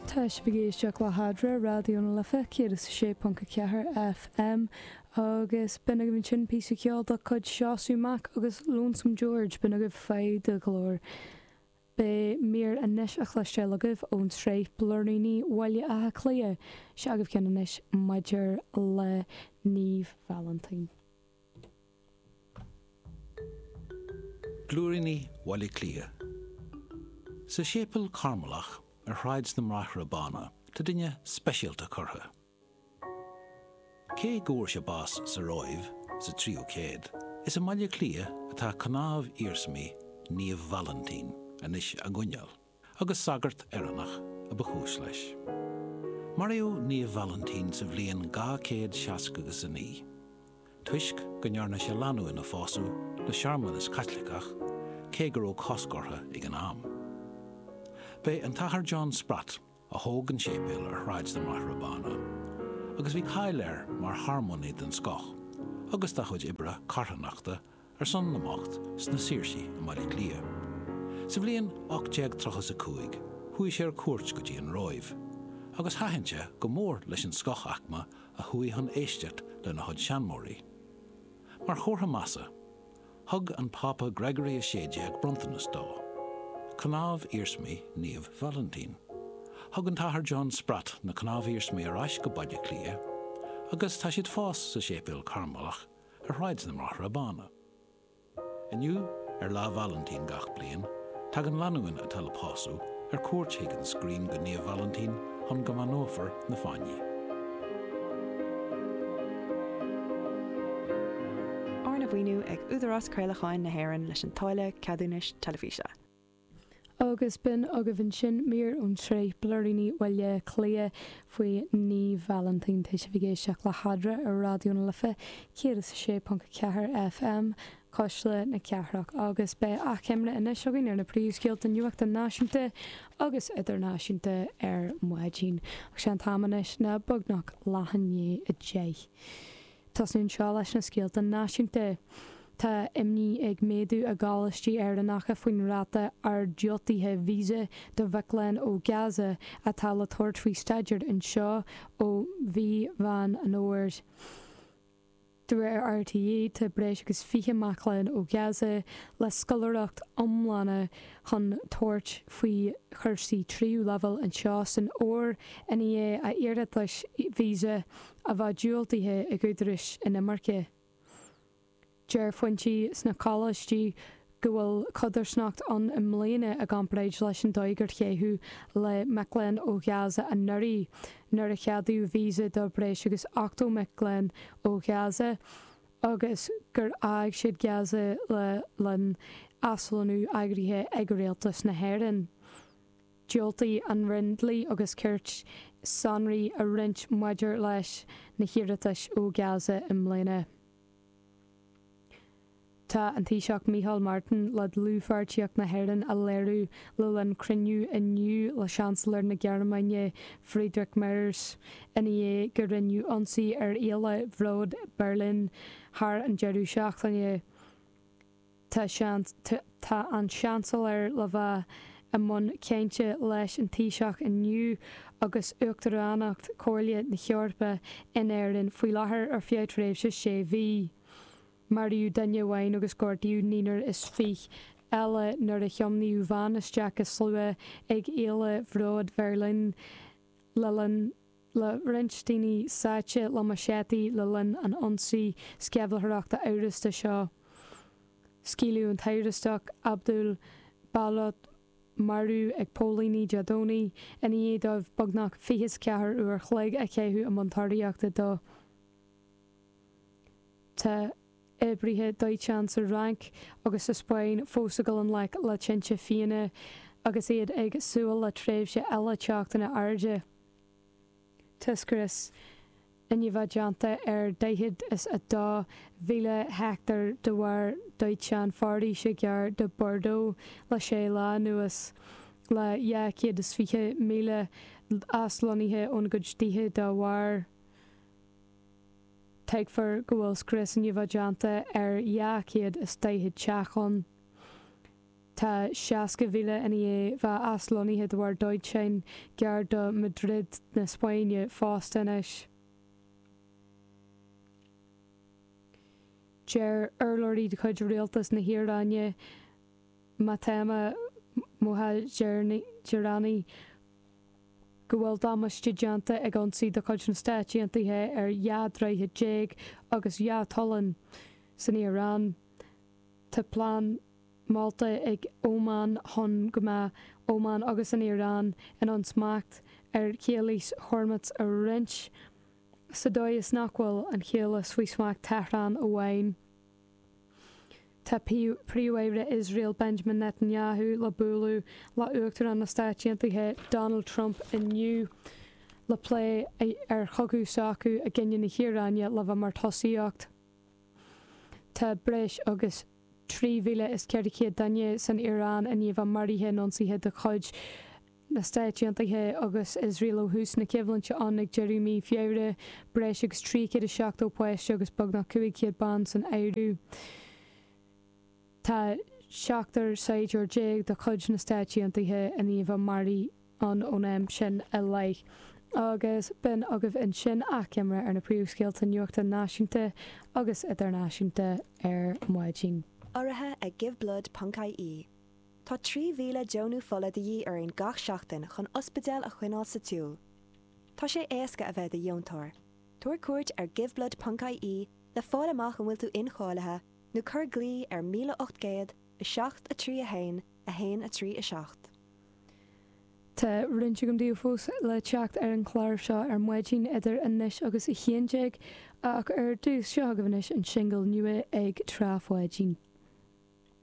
Tá sibh ag éisteacht le hEadra, Raidió na Life 106.4 FM, agus b'in agaibh ansin píosa ceoil de chuid Seosamh Mac agus Lonesome George, b'in agaibh Faigh do Ghlór. Beidh mír anois á chloisteáil agaibh ón tsraith Blúiríní Bhaile Átha Cliath. Seo agaibh ceann anois maidir le Naomh Vailintín. Blúiríní Bhaile Átha Cliath. Sa Séipéal Cairmileach ar Shráid na mBráithre Bána tá duine speisialta curtha. Cé go bhfuair sé bás sa Róimh sa tríú céad, is i mBaile Átha Cliath atá cnámh-iarsmaí Naomh Vailintín anois á gcoinneáil, agus sagart Éireannach a ba chúis leis. Maraíodh Naomh Vailintín sa bhliain 269, toisc go ndearna sé lánúin a phósadh le searmanas Caitliceach, cé go raibh cosc orthu ag an am. B'é an tAthair John Spratt, a thóg an séipéal ar Shráid na mBráithre Bána, agus bhí cáil air mar shearmónaí den scoth agus dá chuid oibre carthanachta ar son na mbocht sna Saoirsí i mBaile Átha Cliath. Sa bhliain 1835 chuaigh sé ar cuairt go dtí an Róimh, agus thaitin sé go mór leis an scothaicme a chuaigh chun éisteacht lena chuid seanmóirí. Mar chomhartha measa, Thug an Pápa Gregory 16 bronntanas dó, cnámh-iarsmaí Naomh Vailintín. Thug an tAthair John Spratt na cnámh-iarsmaí ar ais go Baile Átha Cliath agus tá siad fós sa Séipéal Cairmileach ar Shráid na mBráithre Bána. Inniu, ar Lá Vailintín gach bliain, tagann lánúin atá le pósadh ar cuairt chuig an scrín go Naomh Vailintín chun go mbeannófar na fáinní. Arna mhaoiniú ag Údarás Craolacháin na hÉireann leis an táille ceadúnais teilifíse. Agus b'in agaibh ansin mír ón tsraith Blúiríní Bhaile Átha Cliath faoi Naomh Vailintín. Tá sibh ag éisteacht le hEadra ar Raidió na Life 106.4 FM. Cuisle na Cathrach agus beidh achoimre anois againn ar na príomhscéalta nuachta náisiúnta agus idirnáisiúnta ar maidin. Ach sé an t-am anois ná beagnach leath i ndiaidh 10. Tosnú anseo leis na scéalta náisiúnta. Tá imní ag méadú i gcoláistí Éireannacha faoin ráta ard diúltaithe visa do mhic léinn ó Gaza atá le tabhairt faoi staidéar anseo ó mhí Mheán an Fhómhair. De réir RTÉ, tá breis agus 20 mac léinn ó Ghaza le scoláireacht iomlána chun tabhairt faoi chúrsaí tríú leibhéal anseo san fhómhar i ndiaidh a n-iarratais visa a bheith diúltaithe ag údaráis inimirce. Deir foinsí sna coláistí go bhfuil codarsnacht ann i mbliana i gcomparáid leis an dóigh ar caitheadh le mic léinn ó Ghaza anuraidh, nuair a ceadaíodh víosa do bhreis agus 80 mic léinn ó Ghaza agus gur fhág siad Gaza le linn aslonnú eagraithe ag rialtas na hÉireann. Dhiúltaigh an Roinn Dlí agus Cirt sonraí a roinnt maidir leis na hiarratais ó Ghaza i mbliana. Tá an Taoiseach Micheál Martin le dlúthpháirtíocht na hÉireann a léiriú le linn cruinniú inniu le Seansailéir na Gearmáine Friedrich Merz ina dhiaidh go rinneadh ionsaí ar Fhéile Bhróid Berlin thar an deireadh seachtaine. Tá Tá an Seansailéir le bheith i mbun cainte leis an Taoiseach inniu agus Uachtaránacht Chomhairle na hEorpa in Éirinn faoi láthair ar feadh tréimhse sé mhí. Maraíodh duine amháin agus gortaíodh naonúr is fiche eile nuair a thiomnaíodh veain isteach i slua ag Fhéile Bhróid Bheirlín le linn le roinnt daoine sáite le maiséataí le linn an ionsaí sceimhlitheoireachta amhrasta seo. Scaoileadh an t-amhrastach, Abdul Baluch, marbh ag póilíní Dé Domhnaigh i ndiaidh dóibh beagnach 24 uair a chloig a chaitheamh i mbun tóraíochta dó. Tá oibrithe dóiteáin sa Fhrainc agus sa Spáinn fós ag dul i ngleic le tinte fiáine agus iad ag súil le tréimhse eile teochtanna arda. Tá scrios i ndiaidh bheith déanta ar 42,000 heicteár de bharr dóiteán foraoise gar do Bordeaux le sé lá anuas, le 220,000 aslonnaithe óna gcuid tithe dá bharr. Tuigtear go bhfuil scrios i ndiaidh bheith déanta ar 240 teach ann. Tá 60,000 i ndiaidh bheith aslonnaithe de bharr dóiteáin gar do Madrid na Spáinne fosta anois. Deir urlabhraí de chuid rialtas na hIaráine, Fatemeh Mohajerani, go bhfuil damáiste déanta ag ionsaí de chuid na Stáit Aontaithe ar 12 droichead agus 2 tollán san Iaráin. Tá plean molta ag Óman chun go mbeadh Óman agus an Iaráin in ann smacht ar Chaolas Hormuz a roinnt, sa dóigh is nach bhfuil an chaolas faoi smacht Tehran amháin. Tá Príomh-Aire Iosrael Benjamin Netanyahu le bualadh le Uachtarán na Stáit Aontaithe Donald Trump inniu le plé ar chogadh s'acu i gcoinne na hIaráine le bheith mar tosaíocht. Tá breis agus 3,400 duine san Iaráin i ndiaidh bheith maraithe in ionsaithe de chuid na Stáit Aontaithe agus Iosrael ó thús na coimhlinte ann ag deireadh mí Feabhra, breis agus 370 páiste agus beagnach 500 bean san áireamh. Tá seachtar saighdiúir déag de chuid na Stáit Aontaithe i ndiaidh bheith maraithe ann ón am sin i leith. Agus b'in agaibh ansin achoimre ar na príomhscéalta nuachta náisiúnta agus idirnáisiúnta ar maidin. Urraithe ag Giveblood ponc ie. Tá 3,000 deonú fola de dhíth orainn gach seachtain chun ospidéil a choinneáil sa tsiúl. Tá sé éasca a bheith i do dheontóir. Tabhair cuairt ar giveblood ponc ie le fáil amach an bhfuil tú incháilithe nó cuir glao ar 1800 7 3 1 1 3 7. Tá roinnt agam daoibh fós le teacht ar an chlár seo ar maidin idir anois agus 11 ach ar dtús, seo agaibh anois an singil nua ag Trá Pháidín.